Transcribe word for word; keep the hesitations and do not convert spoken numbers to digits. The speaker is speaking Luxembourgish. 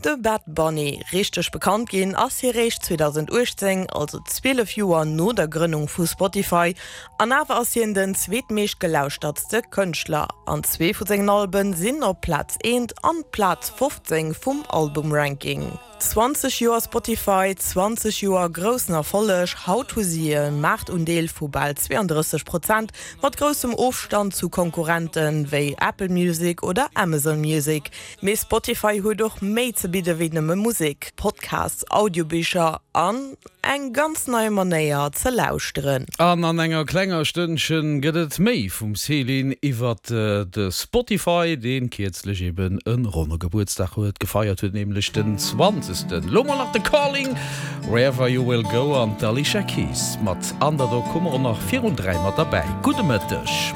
De Bad Bunny richteg bekannt ginn ass hie réischt zweedausenduechtzéng, also zwielef Joer no der Grënnung vu Spotify, an awer ass hien den zweetmeescht gelauschtertste Kënschtler an zwee vu sengen Alben sinn op Plaz eent an Plaz fofzéng vum Album-Ranking. zwanzeg Joer Spotify, zwanzeg Joer groussen Erfolleg, haut hu si e Maartundeel vu bal zweeandrësseg Prozent, mat groussem Ofstand zu Konkurrente wéi Apple Music oder Amazon Music. Mee Spotify huet och méi ze bidde wéi nëmme Musek, Podcasts, Audiobicher an eng ganz nei Manéier ze lauschteren. An an enger klenger Stënnchen gëtt et méi vum Céline iwwert de Spotify, deen kierzlech eben e ronne Gebuertsdag huet gefeiert huet, nämlech den zwanzegsten. Lo mol nach de Calling, Wherever You Will Go an d'Alicia Keys mat Underdog hu mer och nach virun dräi mat derbäi. Gudde Mëtteg.